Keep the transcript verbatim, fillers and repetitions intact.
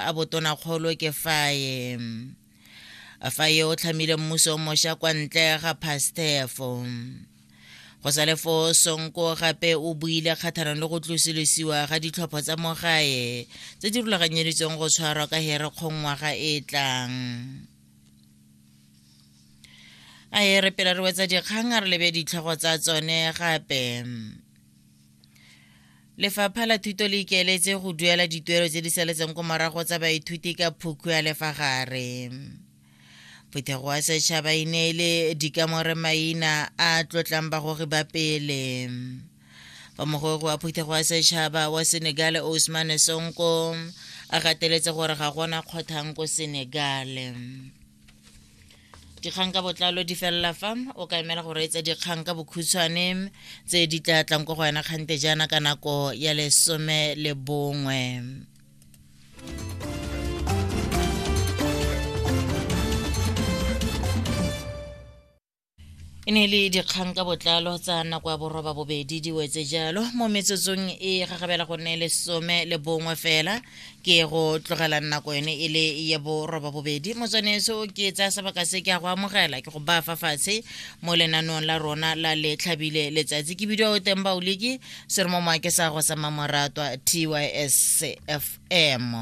a botonakgolo ke Faye. Faye o tlhamile mmuso o mošwa kwa ntle ga Pastef. Go sale foo Sonko gape o buile kgatlhanong le go tlosolosiwa ga ditlhopho tsa mo gae tse di rulaganyeditsweng go tshwarwa ka Herikgong ngwaga e e tlang. A e re pele re wetsa dikgang a re lebe ditlhogo tsa tsone gape. Lefapha la Thuto le ikaeletse go duela dituelo tse di saletseng ko morago tsa baithuti ka phukhu ya lefagare. Phuthego ya setšhaba e neele dikamore maina a tlotlang bagogi ba pele. Fa mogogi wa phuthego ya setšhaba wa Senegal Ousmane Sonko a gateletse gore ga gona kgothang ko Senegal. Dikgang ka botlalo di felela fa o ka emela go reetsa dikgang ka bokhutshwane tse di tla tlang ko go wena kgante jaana ka nako ya lesome le bongwe. E ne le dikgang ka botlalo tsa nako ya boroba bobedi di wetse jalo mo metsotsong e gagabela go nne lesome le bongwe fela ke go tlogela nako yone e le ya boroba bobedi. Motswaneso ke tsaya sebaka se ke a go amogela ke go baya fa fatshe mo lenaneong la rona la le tlhabile letsatsi. Ke bidiwa o teng Baoliki seromo moake sa go sa mamoratwa T Y S F M.